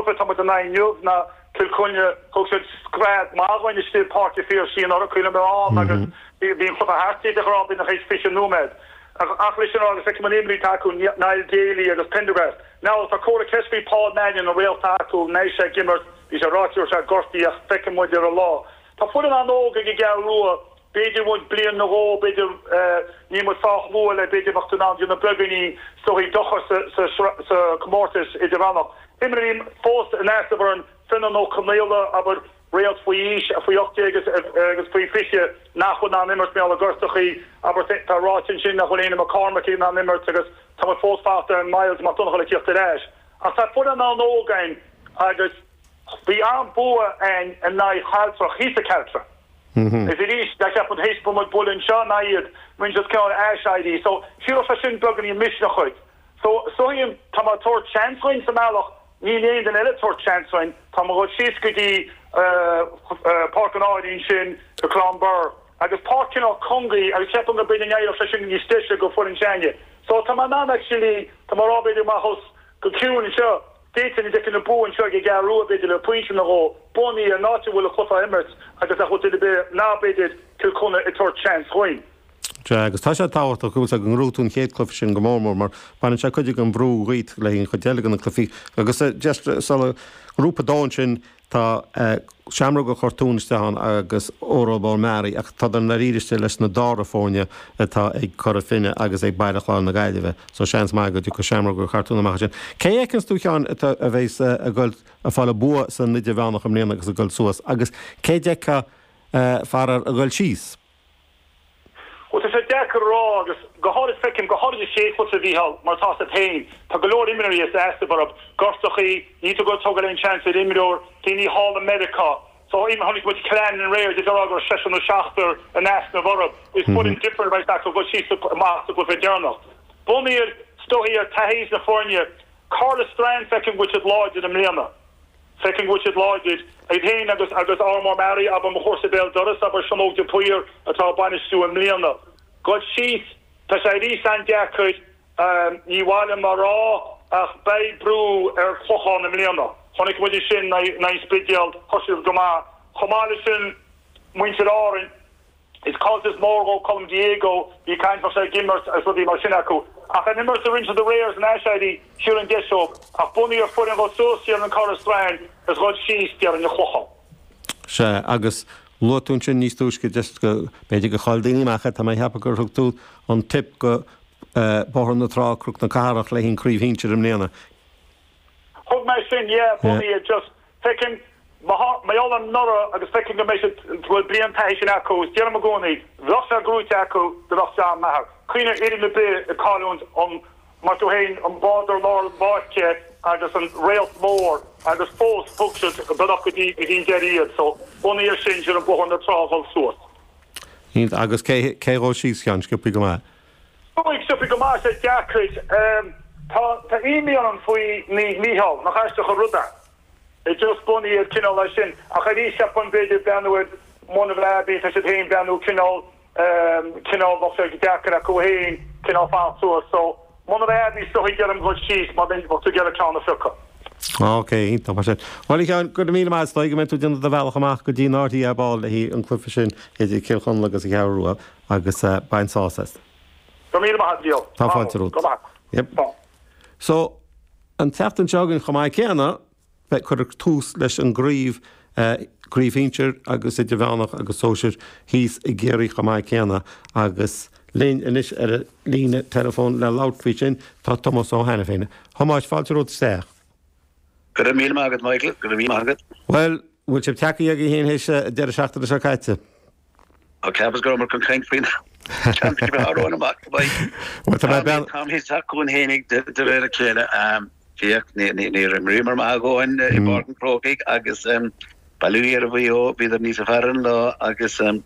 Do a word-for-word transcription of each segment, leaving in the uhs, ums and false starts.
cluiche atá muid in aghaidh inniu ná Cill Chainnigh, thug siad scread maith dhúinn istigh i bPáirc an Phiarsaigh anuraidh, cuimhin liom an agus bhí an cluiche thart de ghnáth b'fhéidir tar éis fiche nóiméad. Ach leis sin a rá, agus feicim an imní atá acu, Niall Daly agus Prendergast. Now tá comhartha ceist faoi Paul Mannion, an réalta acu, an mbeidh sé ag imirt, bhí sé ráite go raibh sé gortaithe ach feicfidh muid ar an lá. Tá foireann an-óg ag an gCeathrú Rua, b'fhéidir uainn bliain nó dhó, b'fhéidir, níl muid sách luath le b'fhéidir bheadh tú in ann déanamh beagáinín is dóichí dochar sa chomórtas idirmheánach. Imreoirí fós in easnamh orainn, Fionnán Ó Conaola, abair, réalt faoi aois, faoi ocht déag agus faoi fiche nach bhfuil in ann imirt mar gheall ar gortachaí, abair, tá ráite ansin nach bhfuil Éanna McCormack in ann imirt agus tá muid fós fanacht ar Myles Mac Donncha le tíocht ar ais. Ach tá foireann an-óg againn agus bhí an-bua againn in aghaidh Chealtrach, thíos i Cealtra. Is arís, cheap muid théis muid bualadh anseo in aghaidh iad, rinne siad cineál aiséirí. So, shílfeá sin beagáinín misneach dhuit. So, so tá mé ag tabhairt seans dhuinn sa mbealach, níl aon duine eile ag tabhairt seans dhuinn, tá mé ag dul síos go dtí Páirc an Áirín ansin i Clonbur agus páirc cineál cúng í agus ceapaim go b'fhéidir n-éireodh sé sin níos deise go foireann s'againne. So tá mé in ann actually, tá mé ag rá b'fhéidir amach os go ciúin anseo, d'fhéadfainn a d'fheicfinn an bua anseo ag an gCeathrú Rua b'fhéidir le pointe nó dhó, bunaithe ar an áit a bhfuil an cluiche á imirt agus nach bhfuil duine ar bith ná b'fhéidir Cill Chainnigh ag tabhairt seans dhuinn. Sea, agus tá sé tábhachtach go bhfuil go ngnóthóidh tú an chéad cluiche sin go mór mór mar baineann sé cuid den bhrú dhíot le an chuid eile de na cluichí. Agus just sula grúpa dó ansin tá Seamróga Chortúin isteach ann agus Óró Bó Meáraí ach tá an dáiríre leis na dara foirne atá ag Cora Finne agus ag Baile Chláir na Gaillimhe, so seans maith go dtiocfaidh Seamróga Chartún amach sin. Cé fheiceanns tú Sheáin atá a bheas ag goil ag fáil an bua san idirmheánach i mbliana agus ag goil suas agus cé d'fheicfeá faraor ag goil síos? Well tá sé deacair a rá agus go háirid feicim go háirid an chéad chluiche a Mhícheál mar atá agat féin tá go leor imreoirí as easnamh orthu gortachaí ní tú go tógáil aon seans ar imreoir daoine thall i Meiriceá so even chonaic muid Clann aréir de rá go raibh seisear nó seachtar in easnamh orthu is foireann different right acu go síos amach sa gcluiche deireanach. Bunaithe is dóichí ar taithí na foirne Caherlistrane feicim go bhfuil siad láidir i mbliana. Feicim go bhfuil siad láidir iad féin agus agus Ardmór Meáraí abair mo chomharsa béal dorais abair Seán Óg de Paor atá ag bainistiú i mbliana. Goil síos tá sé arís an-deacair ní mhaith liom a rá ach beidh brú ar Chlochán i mbliana. Chonaic muid sin in aghaidh an Spidéal thosaigh siad go maith. Chomh maith leis sin muintir Árainn is caillteanas mór dhó Colm Diego bhí caint sé ag imirt agus rudaí mar sin acu. Ach an imirt a rinne siad aréir san aiséirí siar an deis ach bunaithe ar foireann go suas siar an Caherlistrane is goil síos déarfainn an Clochán. Sea agus luaigh tú ansin níos túisce just go b'fhéidir go chaill daoine amach é tá mé ag ceapadh gur thug tú an tip go Bóthar na Trá Cnoc na Cathrach le haghaidh an craobh shinsir i mbliana. Thug mé sin yeah bunaithe just feicim mar gheall ar anuraidh agus feicim go mbeidh siad go bhfuil bliain taithí sin acu is deirim i gcónaí bheadh sé gnóite acu do bheadh John Maher. Cuimhnigh ar fhoireann ar bith ag cailliúint an mar tú féin an bádóir lár na páirce agus an réalt mór agus fós thug siad bealach go dtí go dtí an deireadh iad so bunaithe ar sin sin an Bóthar na Trá dhul suas. Iontach agus cé cé dhul síos Sheáin sciobthaí go maith. Sciobthaí go maith sé deacair tá tá imní orm faoi Naomh Mícheál nach aisteach an rud é. É just bunaithe ar cineál é sin ach arís ceapaim b'fhéidir breathnú ar Monabh Abbey tá siad féin breathnú cineál cineál bheadh sé deacair acu féin cineál fanacht suas so Monabh Abbey is dóichí deirim dhul síos má bheadh tú ag iarraidh ceann a phiocadh. Ok, iontach mar sin. Bhuel a Sheáin, go raibh míle maith agat, is dóigh go mbeidh tú ag déanamh do bhealach amach go dtí an RTÉ ar ball le haghaidh an cluiche sin idir Cill Chonla agus an Cheathrú Rua agus bain sásamh as. Go raibh míle maith agat, Leo. Tá fáilte romhat. Go maith. Yep. So, an tseachtain seo againn chomh maith céanna, beidh cuireadh tús leis an gcraobh craobh shinsir agus idirmheánach agus sóisir thíos i gCiarraí chomh maith céanna agus linn anois ar an líne teileafóin le labhairt faoi sin tá Tomás Ó hAiniféin. Thomáis, fáilte romhat isteach. Go raibh míle maith agat Michael, go raibh míle maith agat. Bhuel, bhfuil sibh tagtha agaibh féin théis deireadh seachtaine seo caite? Ó ceapas go raibh chun caint faoin championship amach. Bhuel, tá mé bean Tá teacht chugainn fhéinig de réir a chéile féach níor imríomar maith againn i bPáirc an Chrócaigh agus bail ó Dhia ar Mhaigh Eo bhíodar níos fearr an lá agus an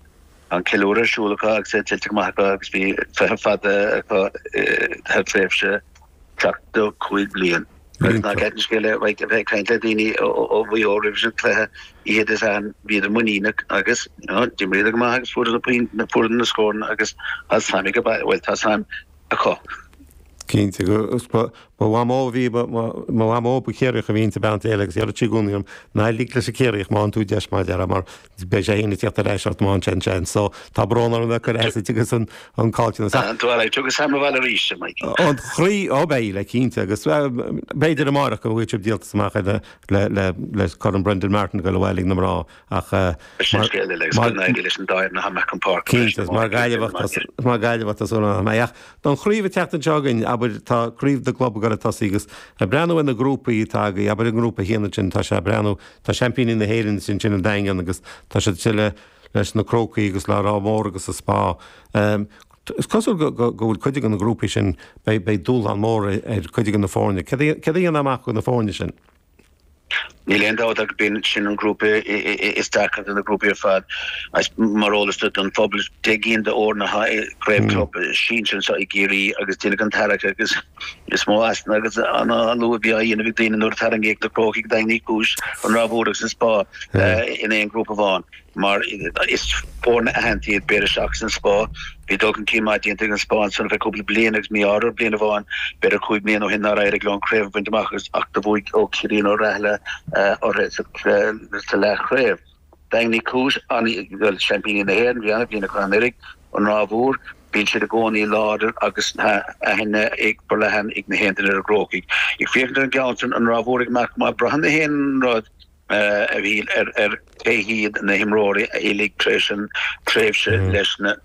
ceiliúradh ar siúl acu agus é tuillte go maith acu agus bhí feitheamh fada acu thar tréimhse seachtó cúig bliain. Agus ná ceart an scéal é bheith ag caint le daoine ó Mhaigh Eo roimh an cluiche oíche Dé Sathairn bhíodar muiníneach agus d'imríodar go maith agus fuaireadar na fuaireadar na scóranna agus tá suim ag bhuel tá suim acu. Cinnte go ba Ba mhamó bhí mo mhamó ba Chiarraíoch a bhí inti bean chéile agus deireadh sí i gcónaí liom ná lig leis an Chiarraíoch má fhaigheann tú deis mar a déarfá mar beidh sé fhéin ag tíocht ar ais ort má fhaigheann sé an seans. So tá brón orm bheith ag cur as duit agus an an caillteanas. Ach Well, tugadh Sam abhaile arís, a Mike. An chroí ó beidh le cinnte agus b'fhéidir amárach go bhfuil sibh díoltas amach le le le le Corn Brendan Martin go bhfuil ag na mná ach Sin scéal eile agus go n-éirí leis an dá fhoireann atá amach chun páirce Cinnte, mar Gaillimheach mar Gaillimheach tá súil agam. Ach don chraobh ag teacht anseo againn, abair, tá craobh na gclub ag dul ag tosaí agus ag breathnú ar na grúpaí atá agaibh, abair i ngrúpa a haon ansin, tá sé ag breathnú, tá seaimpíní na hÉireann ansin an Daingean agus tá siad ansin le leis na Crócaigh agus le Ráth Mór agus an Spá. Is cosúil go go go bhfuil cuid de na grúpaí sin, beidh beidh dúshlán mór ar cuid de na foirne. Céard a céard a dhéanfá amach do na foirne sin? Níl aon dabht ach b'in sin an grúpa is deacra de na grúpaí ar fad. Mar eolas don phobal, deich gcinn d'fhoirne atá i gcraobh club sinsir anseo i gCiarraí agus deineadh an tarrac agus is mó easna agus an lú a bhí á dhéanamh ag daoine nuair a tarraingíodh na Crócaigh, Daingean Uí Chúis, an Ráth Mhór agus an Spá in aon ghrúpa amháin. Mar is foirne aitheanta iad, b'fhéidir, seachas an Spá. Bhí dul chun cinn maith déanta ag an Spá ansan ar feadh cúpla bliain agus mí-ádh orthu bliain amháin, b'fhéidir cúig mbliana ó shin nár éirigh leo an craobh a bhaint amach agus ach do bhuaigh Ó Ciarraí nó Rathaille orthu sa leathchraobh. Daingean Uí Chúis, bhuel, seaimpíní na hÉireann, bhí an-bhliain acu anuraidh, an Ráth Mhór, bíonn siad i gcónaí láidir agus tá aithne ag forleathan ag na haon duine ar an gCrócaigh. Ag féachaint ar an gceann san, an Ráth Mhór ag imeacht go maith, braitheann na haon rud, a Mhíchíl, ar ar cé hiad na himreoirí a fhillfidh tar éis an tréimhse leis na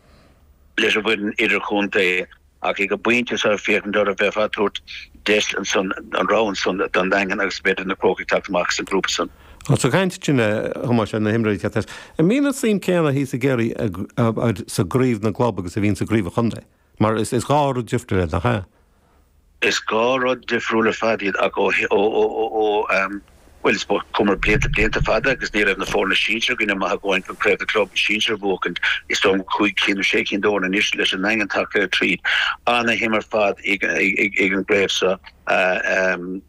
leis an bhfoireann idirchontae ach ag an bpointe seo féachaint orthu bheifeá ag tabhairt deis ansan an rogha ansan don Daingean agus b'fhéidir na Crócaigh teacht amach as an ngrúpa san. Ag caint ansin a Thomáis ar na himreoirí teacht as, an mbíonn an suim céanna thíos i gCiarraí sa gcraobh na gclub agus a bhíonn sa gcraobh an chontae? Mar is is dhá rud difriúil iad, nach ea? Is dhá rud difriúil ar fad iad ach ó ó ó bhuel is chuamar blianta blianta fada agus ní raibh na foirne sinsir againne maith a dhóthain chun craobh na club sinsir a bhuachaint. Is dóigh liom cúig cinn nó sé cinn d'fhoirne anois leis an nDaingean tagtha tríd. Ana-shuim ar fad ag an gcraobh seo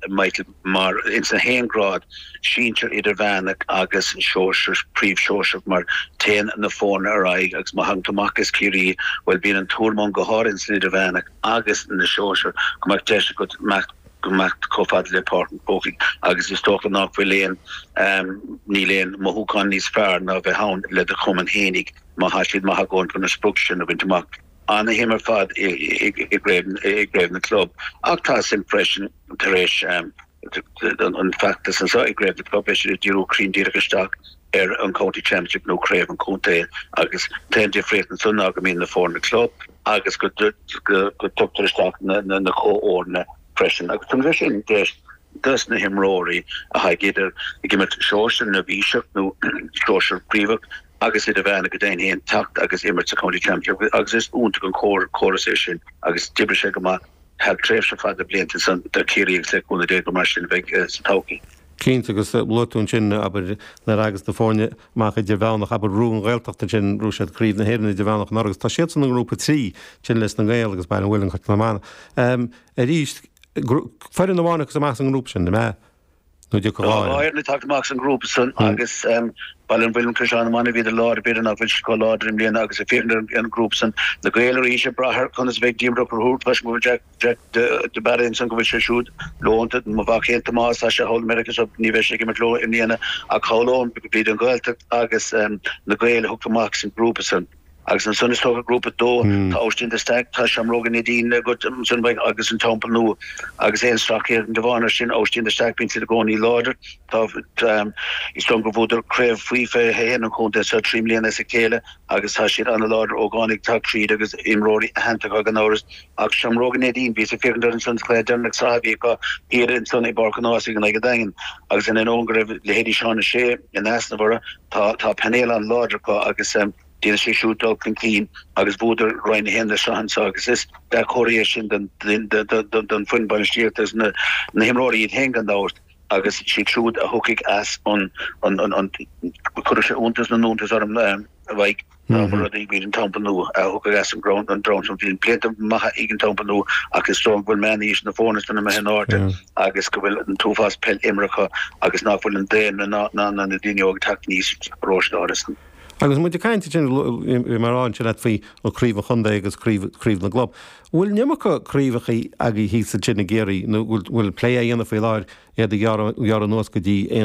Michael mar ins na haon grád, sinsir, idirmheánach agus sóisear, príomh-shóisearach mar téann na foirne ar aghaidh agus má thagann tú amach as Ciarraí bhuel bíonn an tuairim ann go háirithe ins an idirmheánach agus na sóisir go mbeadh deis agat imeacht go mbeadh chomh fada le Páirc an Chrócaigh agus is dócha nach bhfuil aon níl aon mothúchán níos fearr ná bheith ann le do chumann fhéinig má thá siad maith a dhóthain chun an sprioc sin a bhaint amach. Ana-shuim ar fad i gcraobh na gclub ach tá suim freisin tar éis an feachtas anseo i gcraobh na gclub, beidh siad ag díriú cruinn díreach isteach ar an County Championship nó craobh an chontae agus an t-aon difríocht ansan ná go mbíonn na foirne club agus go dtugtar isteach na comhfhoirne freisin agus tugann sé sin deis dos na himreoirí atá ag idir ag imirt sóisear neirbhíseach nó sóisear príomhach agus idirmheánach go deimhin féin teacht agus imirt sa County Championship agus is iontach an córas é sin agus d'oibrigh sé go maith thar tréimhse fada blianta ansan do Chiarraí agus le cúnamh Dé gur mar sin a bheidh sa todhchaí. Cinnte, agus luaigh tú ansin, abair, nuair a thagas na foirne amach idirmheánach, abair, Rú an Ghaeltacht ansin, bhuaigh siad Craobh na hÉireann idirmheánach anuraidh agus tá siadsan i ngrúpa trí, ansin leis na Gaeil agus Baile an Mhuilinn, Caisleán na Mara. Arís, foireann amháin a thiocfas amach as an ngrúpa sin, an ea? Nó an dtiocfaidh dhá fhoireann? Dhá fhoireann ag teacht amach as an ngrúpa san agus Baile an Mhuilinn, Caisleán na Mara, bhíodar láidir, b'fhéidir nach bhfuil siad chomh láidir i mbliana agus ag féachaint ar an ngrúpa san, na Gaeil arís ag brath ar conas a bheidh Diarmuid Ó Conchúir toisc go bhfuil Jack Jack de Barra ansan go bhfuil sé siúd leonta, mo mhac féin Tomás, tá sé thall i Meiriceá so ní bheidh sé ag imirt leo i mbliana ach shamhlóinn go b'iad an Ghaeltacht agus na Gaeil a thiocfadh amach as an ngrúpa san. Agus ansan is dócha grúpa dó, tá Aibhistín de Staic, tá Seamróga Neidín agat ansan beidh agus an Teampall Nua agus aon sracfhéachaint amháin air sin, Aibhistín de Staic, bíonn siad i gcónaí láidir. Tá, is dóigh liom gur bhuadar craobh faoi fiche a haon an chontae seo trí mbliana as a chéile agus tá siad an-láidir, ógánaigh ag teacht tríd agus imreoirí aitheanta acu gan amhras. Ach Seamróga Neidín, bhíos ag féachaint orthu ansan sa chluiche deireanach sraithe a bhí acu thiar ansan i bPáirc an Ághasaigh in aghaidh an Daingin agus in ainneoin go raibh leithéidí Seán O'Shea in easnamh orthu, tá, tá painéal an-láidir acu agus. Déanfaidh siad siúd dul chun cinn agus bhuadar Roinn a haon na sraithe anseo agus is dea-chomhartha é sin don fhoireann bainistíochta agus na himreoirí iad féin gan dabht agus siad siúd a thiocfaidh as an Cuirfidh sé iontas na n-iontas orm a Mhaidhc dá mba rud é go mb'iad an Teampall Nua a thiocfadh as an gceann sin. Bhí blianta maithe ag an Teampall Nua ach is dóigh go bhfuil meánaois na foirne san imithe in airde agus go bhfuil an t-uafás peil imeartha acu agus nach bhfuil an daonra ná na daoine óga ag teacht aníos sa pharóiste áirithe san. Agus muid ag caint sin mar an sin faoi an craobh chontae agus craobh na gclub. Bhfuil an iomarca craobhacha agaibh thíos ansin i gCiarraí nó bhfuil plé á dhéanamh faoi láthair iad a ghearradh anuas go dtí aon